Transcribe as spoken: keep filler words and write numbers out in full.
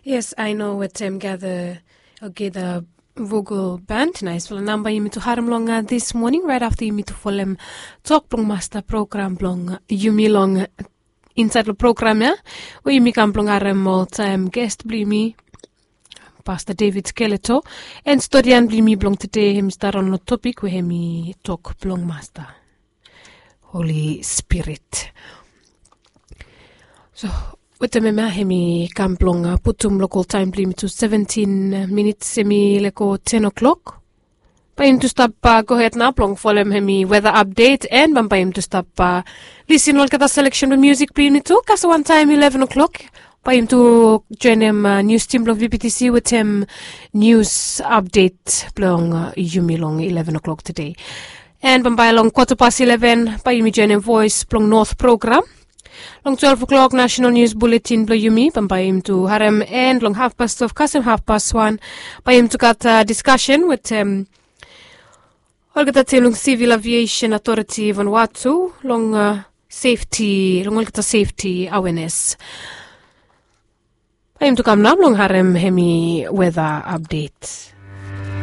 Yes, I know wetem gather, okay, the vocal band. Naispela namba yumi tu harem long this morning, right after yumi tu folem tok blong masta program blong yumi long inside long program ya, we yumi kam blong harem oltaem guest blong yumi, Pastor David Skeleto, and stodian blong yumi blong today, hem i start on long topic we hem i tok blong masta, Holy Spirit. So wetem hemia hem i kam blong putum lokal taem blong yumi tu seventin minits, hem i lego ten o'clock. Bae yumi tu stap gohed nao blong folem hem i weather update, and bambae yumi tu stap lisin olgeta seleksen blong musik blong yumi tu. Kasem wantaem eleven o'clock bae yumi tu joenem nius tim blong VBTC wetem nius update blong yumi long eleven o'clock today. And bambae long kwata pas eleven bae yumi joenem Voes blong Not program. Long twelve o'clock national nius buletin blong yumi, bambae yumi tu harem, and long hafpas twelve kasem hafpas wan bae yumi tu gat diskasen wetem olgeta tim long Civil Aviation Authority Vanuatu long safety, long olgeta safety awareness. Bae yumi tu kam nao blong harem hem i weather update.